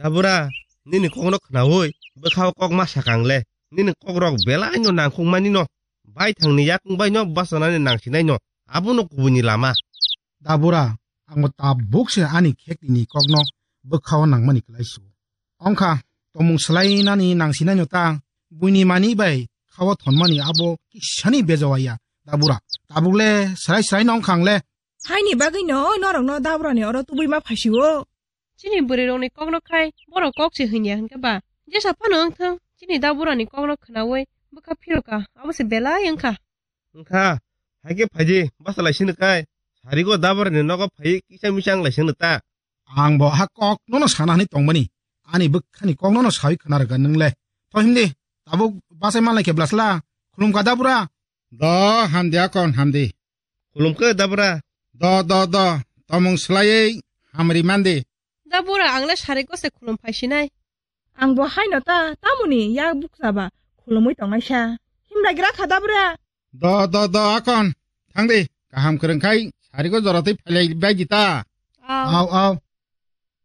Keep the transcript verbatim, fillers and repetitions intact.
Dabura, nini kokno khnaui bwkhao kok ma sakang le. Nini kokrok belai no nangkhuk mani no. Baithangni yakung bai no bachanani nangsinai no. Abono kubuni lama. Dabura, ang bo tabuk se ani khektini kokno bwkhao nangmani klai su. Ongkha, tomung swlainani nangsinai no ta, buini mani bai khao thonmani abo kisani bejawaya, Dabura. Tabuk le srai srai no ongkha ang le. Haini bagwi no norok no Daburani oro tubui ma phasio. Chini bwrwi rokni kokno khai, borok kok se hwnya hinkhe ba. Jesa phano wngthung, chini Daburani kokno khnaui bwkha phiroka, abo se belai wngkha. Wngkha, haikhe phaidi, basa lai sini kai. Sarigo Daburani nogo phai kisa misa wng lai sini ta. Ang bo ha kok nono sana hwnwi tongmani. Ani bwkhani kok nono sawi khna rwgwi nwng le. Tho himdi, tabuk bachai manlai khe bwlasla. Khulumkha Dabura. Do, hamdi akon, hamdi. Khulumkhe Dabura. Do, do, do. Tomung swlaiwi hamri mandi. Dabura, ang le sarigo se khulum phaisinai. Ang bo haino ta, tamoni yak bukcha ba khulumui tongnai sa. Himlai gra kha Dabura. Do, do, do, akon. Thangdi, kaham kwrwng khai sarigo joratwi phailai baidi ta. Au. Au, au.